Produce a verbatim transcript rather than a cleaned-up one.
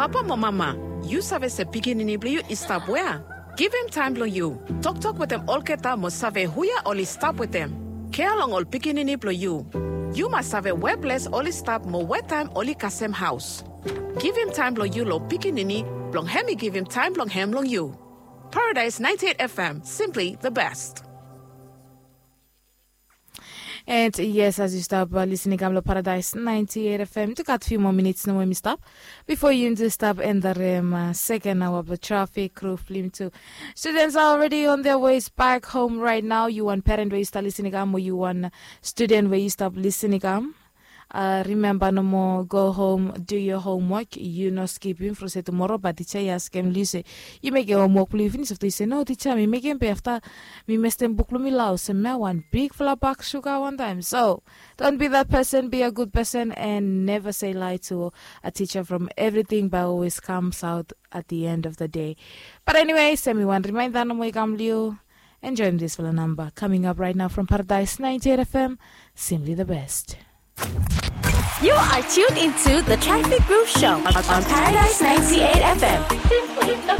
Papa mo mama, yu save se pikinini blong yu i stap wea? Givim taem blong yu. Toktok wetem olgeta mo save huia oli stap wetem. Kea long ol pikinini blong yu. Yu mas save weples oli stap mo wetaem oli kasem haos. Givim taem blong yu long pikinini blong hem i givim taem blong hem long yu. Paradise ninety-eight F M, simply the best. And yes, as yu stap lisin i kam long Paradise ninety-eight F M, tu gat few more minutes nomo mi stap before yu stap endarim uh, second hour of the traffic crew film too. Students are already on their ways back home right now. Yu wan parent where yu stap lisin i kam, or yu wan student where yu stap lisin i kam. Uh, remember no more, go home, do your homework. Yu no skipim from se tomorrow, but teacher i askem liu se yu mekem homework blong yu finis. Afta yu se no teacher, mi mekem be afta mi mestem buk blong mi long haos. Semea wan bigfala bak suga wantaem. So don't be that person, be a good person and never say lie to a teacher from everything but always comes out at the end of the day. But anyway, semi wan reminder nomo i kam liu. Enjoyim disfala number coming up right now from Paradise ninety-eight F M. Simply the best. You are tuned into the Traffic Groove Show on Paradise ninety-eight F M. Simply the